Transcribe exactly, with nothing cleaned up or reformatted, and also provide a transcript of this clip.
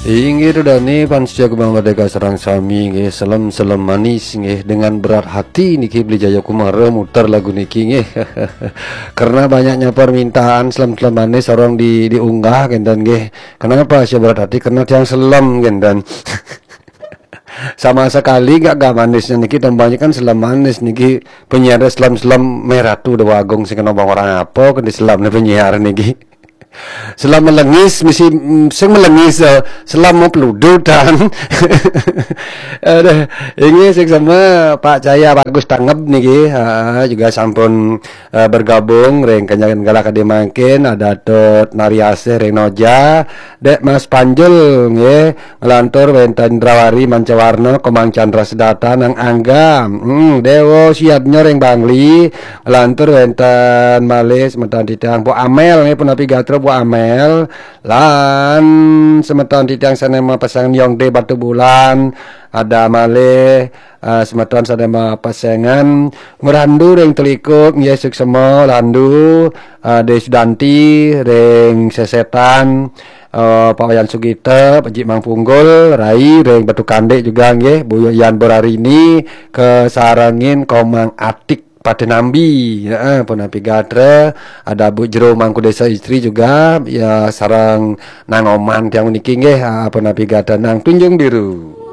Inggih, Ida dané, fans setia Gema Merdeka sareng sami nggih, selem-selem manis nggih, dengan berat hati niki Beli Jaya Kumara muter lagu niki nggih. Karena banyaknya permintaan selem-selem manis orang di diunggah kinten nggih. Kenapa saya berat hati? Karena tiang selem kinten. Sama sekali nggak, nggak manisnya niki, tombanya kan selem manis niki, penyiar selem-selem merah tu Dewa Agung sing kena bang orang apa ke di selem penyiar niki. Selem melengis, misi, mm, sing melengis, eh, selem mau peludutan. Aduh, ini sing sama Pak Cahya Bagus Tanggep niki, ha, juga sampun, eh, bergabung ring kenyangan galak adi mangkin, ada Tut Nariasih ring Noja, Dek Mas Panjul nggih, ngelantur wénten Indrawari Mancawarna, Komang Chandra Sedata nang Angga. Hmm, Dewa Siadnya ring Bangli, ngelantur wénten malih semeton titiang Bu Amel nggih, punapi gatra Bu Amel, lan semeton titiang sané mapesengan Yongde Batu Bulan, ada malih, eh, semeton sané mapesengan Ngrandu ring Telikuk nggih, suksema Landu, eh, De Sudanti ring Sesetan, eh, Pak Wayan Sugita, Pak Jik Mang Punggul, Rai ring Batu Kandik juga nggih, Bu Yan Borarini, kesarengin Komang Atik Patinambi, heeh, punapi gatra, ada Bu Jero Mangku Desa Istri juga, ya, sareng nang oman tiang niki nggih, ah, punapi gatra nang Tunjung Biru.